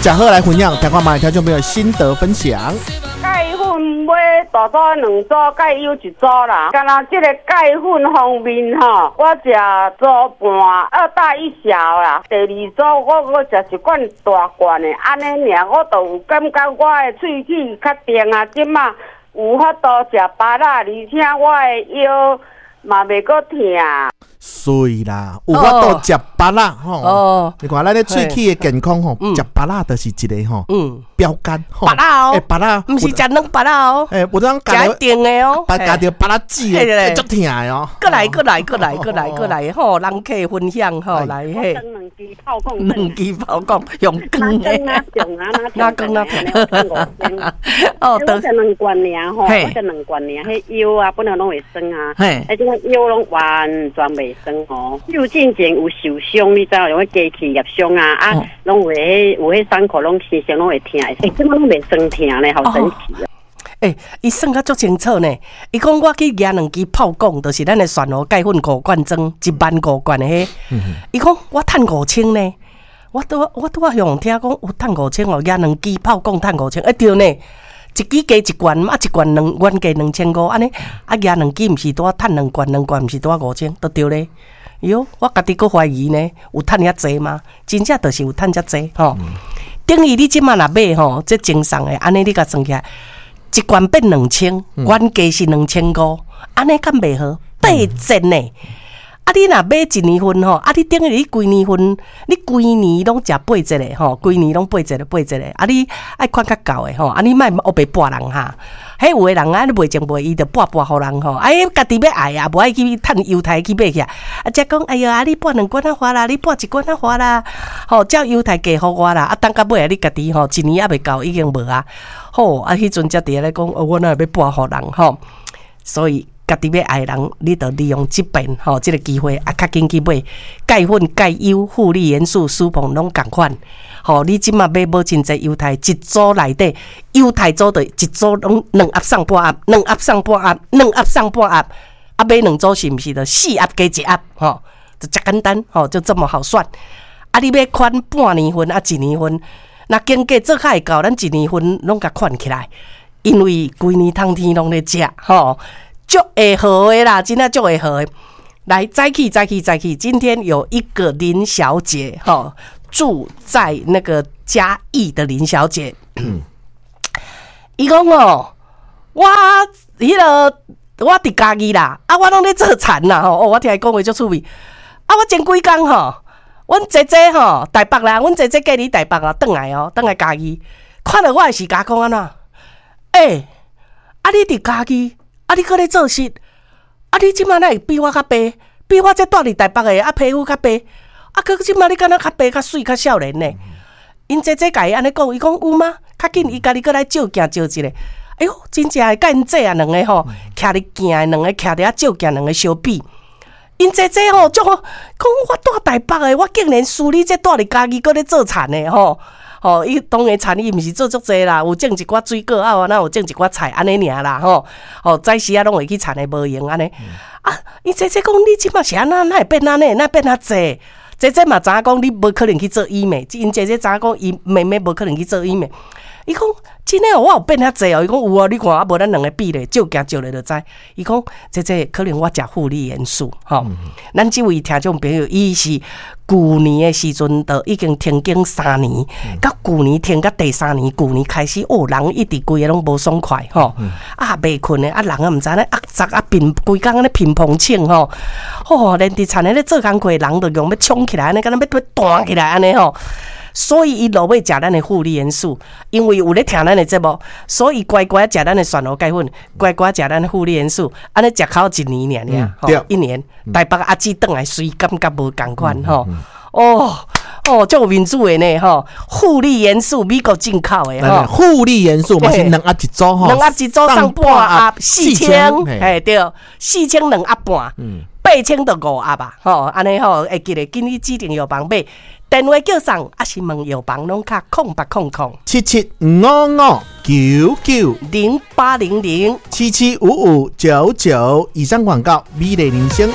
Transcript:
食好來分享，聽看覓聽眾朋友心得分享。鈣粉買大組兩組，鈣優一組啦。敢若這个鈣粉方面吼，我食組半，二大一小啦。第二組我閣食一罐大罐的，按呢爾我就有感覺我的喙齒較甜啊。這馬有法度食芭樂，而且我的腰嘛袂閣疼。媠啦，有法度食芭樂吼。你看咱咧喙齒的健康吼，食芭樂就是一个吼標杆。芭樂哦，欸，芭樂，毋是食軟芭樂哦。欸，有當食甜的哦，食著芭樂籽的，足疼的哦。閣來，閣來，閣來，閣來，閣來，吼，人客分享吼，來嘿。兩支炮管，兩支炮管用光的。哪光哪痛。哦，我食兩罐爾吼，我食兩罐爾，彼腰啊，本來攏會酸啊，欸，這個腰攏完全袂酸吼。有進前有受傷，你知影，用彼機器捏傷啊，啊，攏有彼有彼傷口，攏時常攏會疼，欸，這馬攏袂酸疼咧，好神奇啊！欸，伊算甲足清楚呢。伊講我去舉兩支炮管，就是咱的蒜頭鈣粉五罐裝，1萬5罐的彼。伊講我趁5000呢。我拄仔向聽講有趁五千哦，舉兩支炮管趁五千，欸對呢，一支加一罐，啊一罐兩原價2500，按呢啊舉兩支毋是拄仔趁兩罐，兩罐毋是拄仔五千，都對咧。喲，我家己閣懷疑呢，有趁遐濟嗎？真正就是有趁遮濟吼。等於你這馬若買吼，這贈送的，按呢你共算起來，一罐變兩千，原價是2500，按呢敢袂好？八折呢？啊！你若買一年份吼，啊！你等於你規年份，你規年攏食八折的吼，規年攏八折的八折的。啊！你愛款較夠的吼，啊！你莫烏白撥人哈。彼有的人啊，你賣前賣，伊就撥撥予人吼。啊！伊家己欲愛啊，無愛去趁猶太去買起來。啊！才講，哎喲，啊！你撥兩罐仔花啦，你撥一罐仔花啦，吼，照猶太價予我啦。啊！等到尾啊，你家己吼，一年猶未到，已經無啊。好，啊！彼陣才佇咧講，我哪會欲撥予人吼？所以，家己欲愛人，你就利用這遍吼，這个機會啊，較緊去買鈣粉、鈣優、護理元素、舒膨攏仝款。吼，你這馬買無真濟猶太，一組內底猶太組就一組攏兩盒送半盒，兩盒送半盒，兩盒送半盒。啊，買兩組是毋是就四盒加一盒？吼，就遮簡單，吼，就這麼好算。啊，你欲款半年份啊，一年份，若經過做較會到，咱一年份攏共款起來，因為規年冬天攏咧食，吼。足會好的啦，真正足會好的。來，再去，再去，再去。今天有一個林小姐，吼，住在那個嘉義的林小姐。伊講哦，我彼個我佇嘉義啦，啊，我攏咧做田啦，吼，哦，我聽伊講話足趣味。啊，我前幾工吼，阮姐姐吼，台北啦，阮姐姐嫁佇台北啊，轉來哦，轉來嘉義，看著我的時，共我講按怎？欸，啊，你佇嘉義？啊！你閣咧做穡？啊！你這馬哪會比我較白？比我這蹛佇台北的啊皮膚較白？啊！閣這馬你敢若較白、較媠、較少年呢？𪜶姐姐共伊按呢講，伊講有嗎？較緊，伊家己閣來照鏡照一下。哎喲，真正的，佮𪜶姐啊兩个吼，徛佇鏡的兩个徛佇遐照鏡，兩个相比。𪜶姐姐吼，足好，講我蹛台北的，我竟然輸你這蹛佇嘉義閣咧做田的吼。吼，伊當然田伊毋是做足濟啦，有種一寡水果啊，若有種一寡菜按呢爾啦吼。吼，早時仔攏會去田的無閒按呢。啊，伊姐姐講你這馬是按怎，哪會變按呢？哪會變遐濟？姐姐嘛知影講你無可能去做醫美，𪜶姐姐知影講伊妹妹無可能去做醫美。伊講真的哦，我有變遐濟哦。伊講有啊，你看啊，無咱兩个比咧，照鏡照咧就知。伊講姐姐可能我食護理元素吼。咱這位聽眾朋友，伊是舊年的時陣就已經停經三年，到舊年停到第三年，舊年開始哦，人一直規个攏無爽快吼，啊，袂睏的啊，人啊毋知按呢壓雜啊，貧規工按呢貧膨醒吼，吼，連佇田咧咧做工課，人就用欲衝起來按呢，敢若欲欲彈起來按呢吼。所以伊落尾食咱的護理元素，因為有咧聽咱的節目，所以乖乖食咱的蒜頭鈣粉，乖乖食咱的護理元素，按呢食口一年爾爾，吼，一年。台北阿姊轉來，隨感覺無仝款吼，哦哦，足有面子的呢吼，護理元素美國進口的吼，護理元素嘛是兩盒一組吼，兩盒一組送半盒四千，嘿對，四千兩盒半，8000就五盒吧，吼，按呢吼，會記得緊去指定藥房買。電話叫送，抑是問藥房攏敲0800 775599 0800 775599。以上廣告，美麗人生。